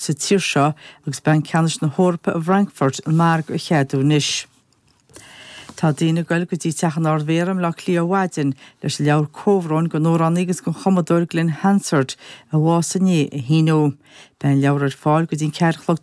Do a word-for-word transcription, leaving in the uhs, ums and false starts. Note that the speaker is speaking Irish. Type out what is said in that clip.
Sa tír seo agus Banc Ceannais na hEorpa i bhFrankfurt an margadh a cheadú anois. Tá daoine ag goil go dtí teach an Ardmhéara i mBaile Átha Cliath ar maidin leis an leabhar comhbhróin don amhránaí agus don chumadóir Glen Hansard a bhásaigh inné a shíniú. Beidh an leabhar ar fáil go dtí an ceathair a chlog.